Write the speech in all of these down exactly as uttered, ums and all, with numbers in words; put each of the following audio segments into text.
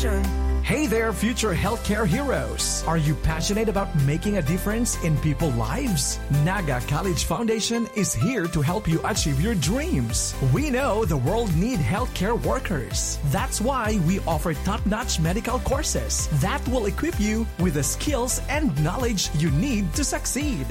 Hey there, future healthcare heroes! Are you passionate about making a difference in people's lives? Naga College Foundation is here to help you achieve your dreams. We know the world need healthcare workers. That's why we offer top-notch medical courses that will equip you with the skills and knowledge you need to succeed.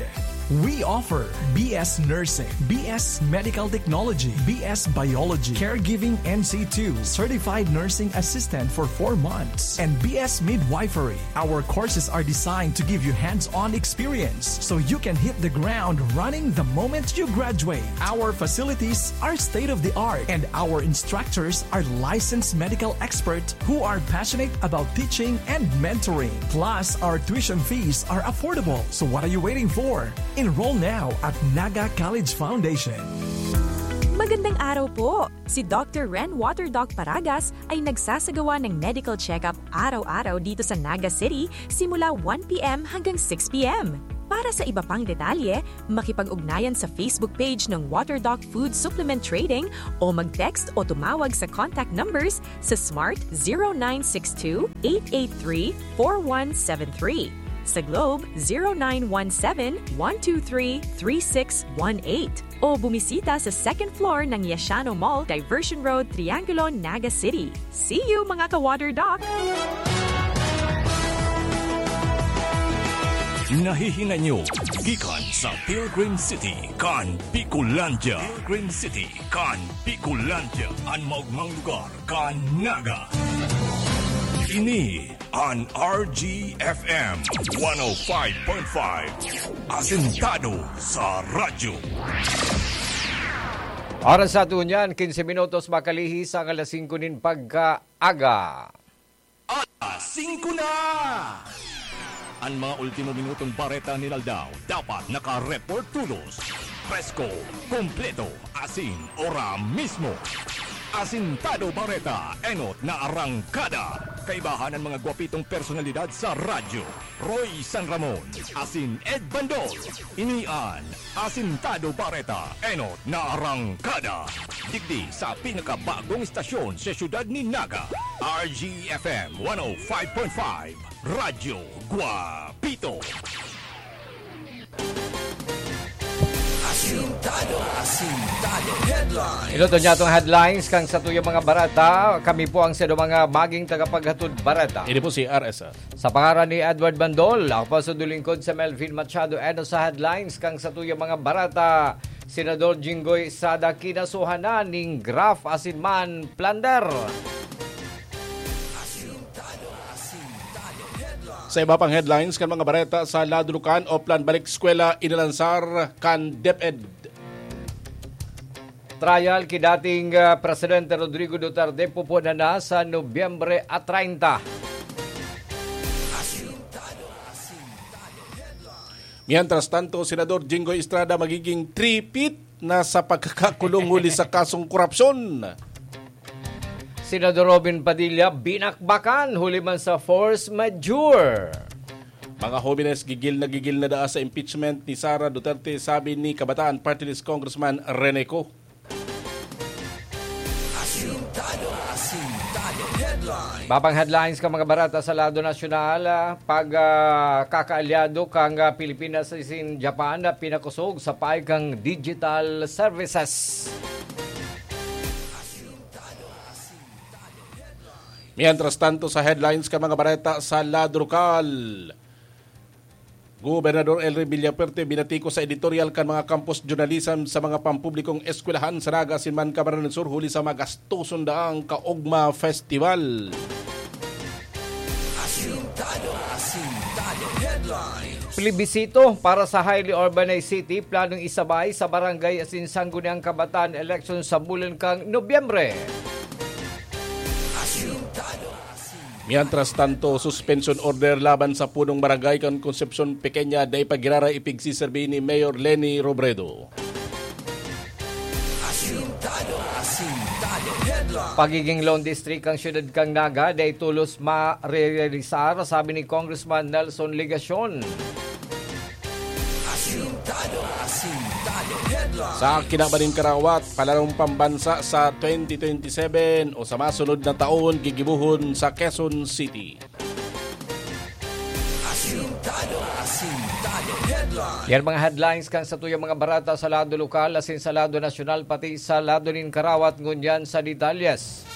We offer B S Nursing, B S Medical Technology, B S Biology, Caregiving N C two, Certified Nursing Assistant for four months, and B S Midwifery. Our courses are designed to give you hands-on experience so you can hit the ground running the moment you graduate. Our facilities are state-of-the-art, and our instructors are licensed medical experts who are passionate about teaching and mentoring. Plus, our tuition fees are affordable. So what are you waiting for? Enroll now at Naga College Foundation. Magandang araw po! Si Doctor Ren Water Doc Paragas ay nagsasagawa ng medical check-up araw-araw dito sa Naga City simula one p.m. hanggang six p.m. Para sa iba pang detalye, makipag-ugnayan sa Facebook page ng Water Doc Food Supplement Trading o mag-text o tumawag sa contact numbers sa Smart zero nine six two, eight eight three, four one seven three, sa Globe zero nine one seven, one two three, three six one eight, o bumisita sa second floor ng Yashano Mall, Diversion Road, Triangulo, Naga City. See you, mga ka-Water Doc! Nahihinay nyo gikan sa Pilgrim City kan Bicolandia. Pilgrim City kan Bicolandia, an maogmang lugar kan Naga. Ini an R G F M one oh five point five, asentado sa radyo. Oras sa ato niyan, quince minutos makalihis ang alas singko nin pagkaaga. Alas singko na! An mga ultimo minutong bareta nin aldaw dapat naka-report todos, presko, kompleto, asin ora mismo. Asintado Bareta, enot na arangkada. Kaibahan an mga gwapitong personalidad sa radyo, Roy San Ramon asin Ed Bandol. Ini an Asintado Bareta, enot na arangkada. Digdi sa pinakabagong istasyon sa siyudad nin Naga, R G F M one oh five point five, Radyo Guapito. Asintado, Asintado Headlines. Ito to niya atong headlines kan satuyang mga bareta. Kami po ang sadong mga maging tagapaghatod bareta. Ini po si R S F. Sa pangaran ni Edward Bandol, ako po sa dulingkod sa Melvin Machado. Eno sa headlines kan satuyang mga bareta, Senador Jinggoy Estrada kinasuhan na nin graft asin man plunder. Sa iba pang headlines kan mga bareta, sa Ladrukan, Oplan, balik eskwela inalansar kan DepEd. Trial ki dating ah, Presidente Rodrigo Duterte pupunan na sa Nobyembre a treinta. Mientras tanto, Senador Jinggoy Estrada magiging three-peat na sa pagkakakulong huli sa kasong korupsyon. Senador Robin Padilla binakbakan huli man sa force majeure. Mga hobenes, gigil na gigil na daa sa impeachment ni Sara Duterte, sabi ni Kabataan Party List Congressman Rene Co. Asintado, Asintado Headlines. Babang headlines ka mga barata sa lado nasyonal, ah, pag ah, kakaalyado kang ah, Pilipinas asin Japan na pinakosog sa paig kang digital services. Mientras tanto, sa headlines ka mga bareta sa lado lokal, Gobernador Elry Villafuerte binatikos sa editorial kan mga campus journalism sa mga pampublikong eskwelahan sa Naga asin man Camarines Sur huli sa magastoson daang kaogma festival. Asintado, Asintado Headlines. Plebisito para sa highly urbanized city, planong isabay sa barangay asin sangguniang kabataan election sa bulan kang Nobyembre. Asintado, Mientras tanto, suspension order laban sa punong barangay kan Concepcion Pequeña dai pa giraray ipigsiserbi ni Mayor Leni Robredo. Asintado, Asintado Headlines. Pagiging lone district kan siyudad kan Naga dai tolos marealisar, sabi ni Congressman Nelson Legacion. Asintado, Asintado Headlines. Sa kinaban nin karawat, palarong pambansa sa twenty twenty-seven o sa masunod na taon gigibohon sa Quezon City. Asintado, asintado. Headline. Yan mga headlines kan satuyang mga barata sa lado lokal, asin sa lado nasyonal, pati sa lado nin karawat, ngunyan sa detalyes.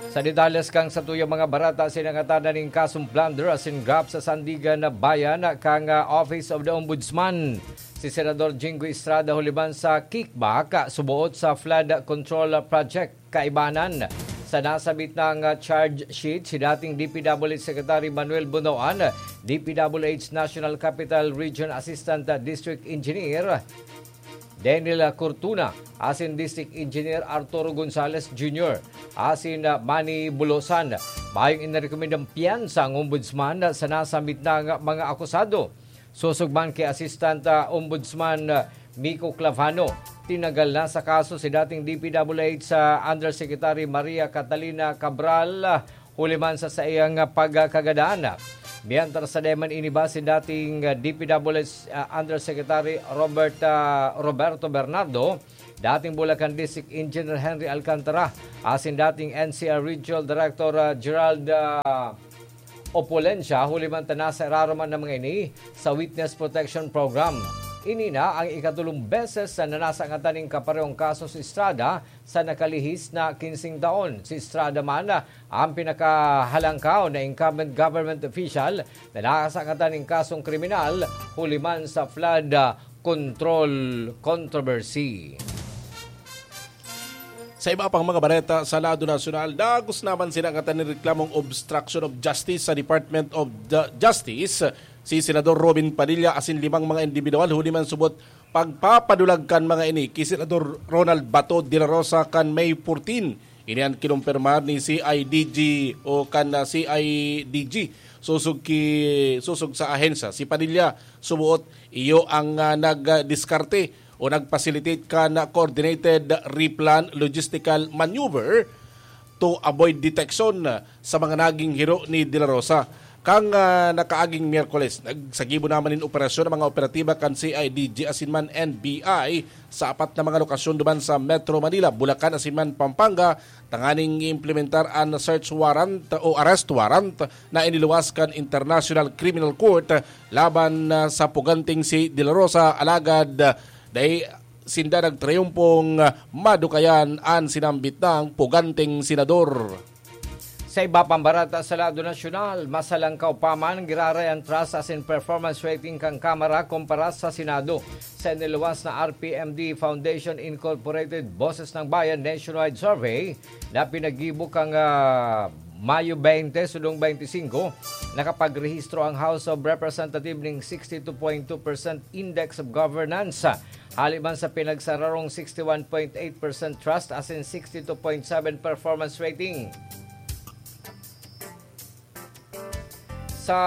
Sa detalyes kan satuyang mga barata, sinangatan na nin kasong plunder asin graft sa Sandigan na Bayan kan, ah, Office of the Ombudsman si Senador Jinggoy Estrada, huliman sa kickback, ah, suboot sa flood control project. Kaibanan, sa nasabit na nga charge sheet, si dating D P W H Secretary Manuel Bunoan, D P W H National Capital Region Assistant District Engineer Daniel Cortuna, asin District Engineer Arturo Gonzalez Junior, asin, ah, Manny Bulosan, mayong inarekomendang piyansa ang Ombudsman sa nasambit na nga mga akusado. Sosog man ki Assistant, ah, Ombudsman, ah, Miko Clavano, tinagal na sa kaso si dating D P W H, ah, Undersecretary Maria Catalina Cabral, ah, huli man sa saiyang, ah, pagkagadaan. Mientras sa deman iniba si dating, ah, D P W H, ah, Undersecretary Robert, ah, Roberto Bernardo, dating Bulacan District Engineer Henry Alcantara, asin dating N C R Regional Director, ah, Gerald, ah, Opulencia, huli man ta nasa irarom man na mga ini sa Witness Protection Program. Ini na ang ikatulong beses na nanasangatan nin kaparehong kaso si Estrada sa nakalihis na kinsing taon. Si Estrada man ang pinakahalangkaw na incumbent government official na nasangatan nin kasong kriminal huli man sa flood control controversy. Sa iba pang mga bareta sa lado nasyonal, dagos naman sinangatan nin reklamong obstruction of justice sa Department of the Justice si Senador Robin Padilla asin limang mga individual huli man subot pagpapadulag kan mga ini ki Senador Ronald Bato de la Rosa kan May fourteen. Ini an kinumpirmar ni C I D G o kan, ah, C I D G. Sosog ki, sosog sa ahensya, si Padilla suboot iyo ang, ah, nagdiskarte o nag-facilitate kan coordinated replan logistical maneuver to avoid detection sa mga naging hiro ni De La Rosa. Kan, ah, nakaaging Miyerkules, nagsagibo naman nin operasyon ang mga operatiba kan C I D G asin man N B I sa apat na mga lokasyon duman sa Metro Manila, Bulacan asin man Pampanga, tanganing i-implementar an search warrant o arrest warrant na iniluwas kan International Criminal Court laban, ah, sa puganting si De La Rosa, alagad, ah, dai sinda nagtriumpong, ah, madukayan an sinambit nang puganting senador. Sa iba pang barata sa lado nasyonal, masalangkaw pa man giraray an trust asin performance rating kan Kamara kumpara sa Senado. Sa iniluwas na R P M D Foundation Incorporated Boses ng Bayan Nationwide Survey na pinaggibo kan, ah, Mayo twenty, sudong twenty-five, nakapagrehistro ang House of Representatives ning sixty-two point two percent Index of Governance, hali man sa pinagsararong sixty-one point eight percent trust asin sixty-two point seven performance rating. Sa,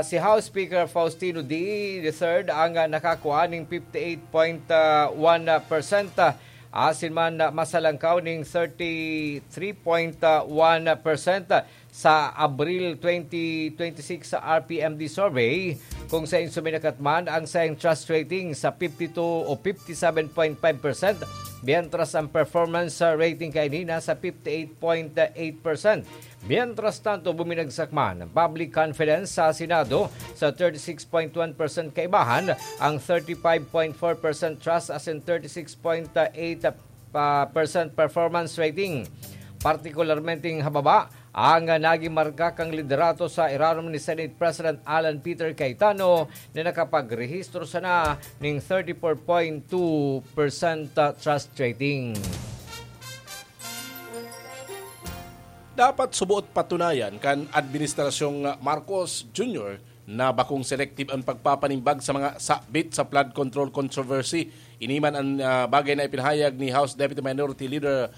si House Speaker Faustino Dy the third ang, ah, nakakua ning fifty-eight point one percent, ah, asin man, ah, masalangkaw ning thirty-three point one percent sa Abril twenty twenty-six sa R P M D survey, kung sain suminakat man ang saiyang trust rating sa fifty-two o fifty-seven point five percent, mientras ang performance rating kaini nasa fifty-eight point eight percent. Mientras tanto, buminagsak man ang public confidence sa Senado sa thirty-six point one percent, kaibahan ang thirty-five point four percent trust asin thirty-six point eight pa-, percent performance rating. Partikularmenteng hababa ang naging marka kan liderato sa irarom ni Senate President Alan Peter Cayetano, na nakapagrehistro sana ning thirty-four point two percent trust rating. Dapat suboot patunayan kan Administrasyong Marcos Junior na bakong selective ang pagpapanimbag sa mga sabit sa flood control controversy. Ini man ang, ah, bagay na ipinahayag ni House Deputy Minority Leader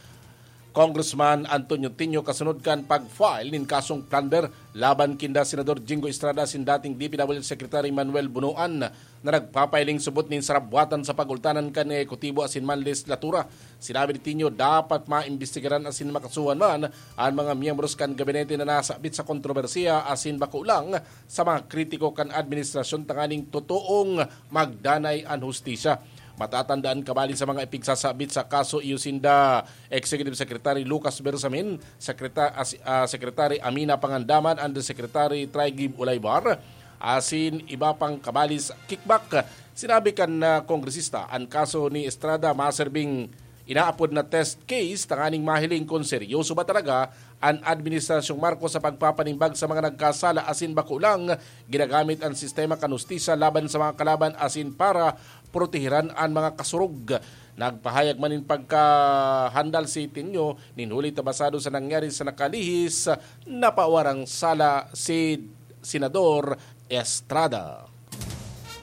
Congressman Antonio Tinio kasunod kan pag-file nin kasong plunder laban kinda Senador Jinggoy Estrada asin dating D P W H Secretary Manuel Bunoan na nagpapahiling subot nin sarabwatan sa pagultanan kan ehekutibo asin man lehislatura. Sinabi ni Tinio, dapat maimbestigaran asin makasuhan man an mga miyembros kan gabinete na nasabit sa kontrobersiya asin bako lang sa mga kritiko kan administrasyon tanganing totoong magdanay an hustisya. Matatandaan kabali sa mga ipigsasabit sa kaso iyo sinda Executive Secretary Lucas Bersamin, Sekreta-, as-, ah, Secretary Amina Pangandaman, Undersecretary Trigib Ulaybar, asin iba pang kabali sa kickback. Sinabi kan, ah, kongresista, an kaso ni Estrada maserbing inaapod na test case tanganing mahiling kun seryoso ba talaga an Administrasyong Marcos sa pagpapanimbag sa mga nagkasala asin bako lang ginagamit an sistema kan hustisya laban sa mga kalaban asin para protehiran an mga kasurog. Nagpahayag man nin pagkahandal si Tinyo nin huli ta basado sa nangyari sa nakalihis, napawarang sala si Senador Estrada.